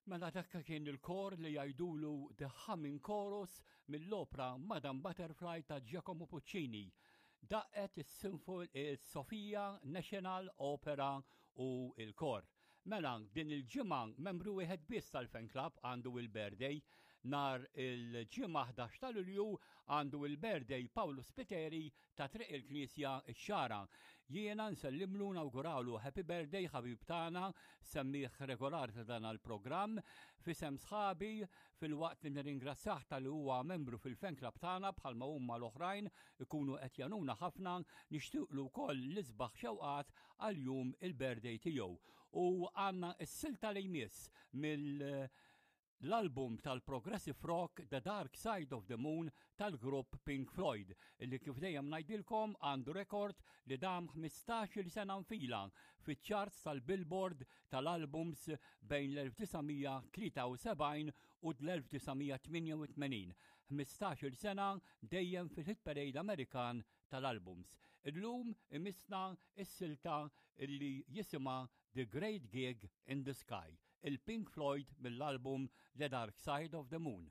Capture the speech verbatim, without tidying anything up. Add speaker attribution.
Speaker 1: Mela dak kien il-kor li jgħidulu The Humming Chorus mill-opra Madame Butterfly ta' Giacomo Puccini. Daqqet is-Sofia National Opera u il-kor. Mela, din il-ġimgħa membru wieħed biss tal-fan club għandu il-birthday. Nhar il-Ġimgħa ħdax ta' Lulju għandu il-birthday Paolo Spiteri ta' Triq il-Knisja ix-Xagħra. Jiena nsellimlu, nawguralu happy birthday, ħabib tagħna, semmiegħ regolari ta' dan il-programm, f'isem sħabi, filwaqt li nirringrazzjah talli huwa membru fil-fan club tagħna bħalma huma l-oħrajn ikunu qed jgħinuna ħafna, nixtieqlu wkoll l-isbaħ xewqat għal jum il-birthday tiegħu. U għandna s-silta li jmiss mill l-album tal-Progressive Rock The Dark Side of the Moon tal-grupp Pink Floyd, li kif dejjem ngħidilkom għandu rekord li dam ħmistax-il sena nfila fiċ-charts tal-Billboard tal-albums bejn l-elf disa' mija tlieta u sebgħin u l-elf disa' mija tmienja u tmenin. ħmistax-il sena dejjem fil-hit parade Amerikan tal-albums. Illum imissna is-silta illi jisimha The Great Gig in the Sky, il-Pink Floyd mill-album The Dark Side of the Moon.